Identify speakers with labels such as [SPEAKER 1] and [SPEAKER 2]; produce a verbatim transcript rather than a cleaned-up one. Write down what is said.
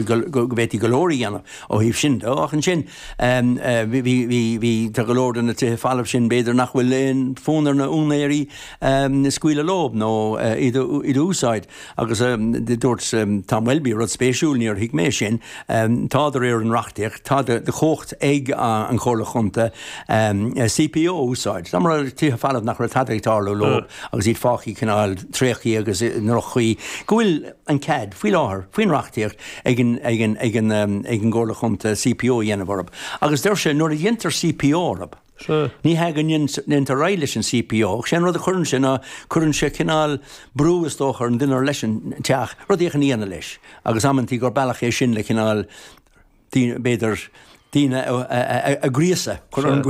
[SPEAKER 1] Go bhféadfaí go leor a dhéanamh ó thaobh sin de. Ach ansin bhí bhí tá go leor de na tithe folamh sin b'fhéidir nach bhfuil aon fhonn ar na úinéirí scaoileadh leo nó iad a úsáid. Agus dúirt Tom Welby rud spéisiúil, níor thuig mé sin, tá de réir an reachtaíocht, tá de chumhacht ag an Chomhairle Chontae C P O a úsáid. Dá mba tithe folamh nach raibh tada ag tarlú leo agus iad fágtha cineál tréigthe agus i ndroch-chaoi, go bhfuil an cead faoi láthair faoin reachtaíocht ag an ag an ag an ag an gComhairle Chontae C P O a dhéanamh orthu. Agus deir sé nuair a dhéantar C P O orthu, ní hé go ndéantar réidh leis an C P O, sé an rud a chuireann sé ná cuireann sé cineál brú, is dócha, ar an duine leis an teach rud éigin a dhéanamh leis, agus amanntaí gur bealach é sin le cineál b'fhéidir daoine a ghríosadh chun an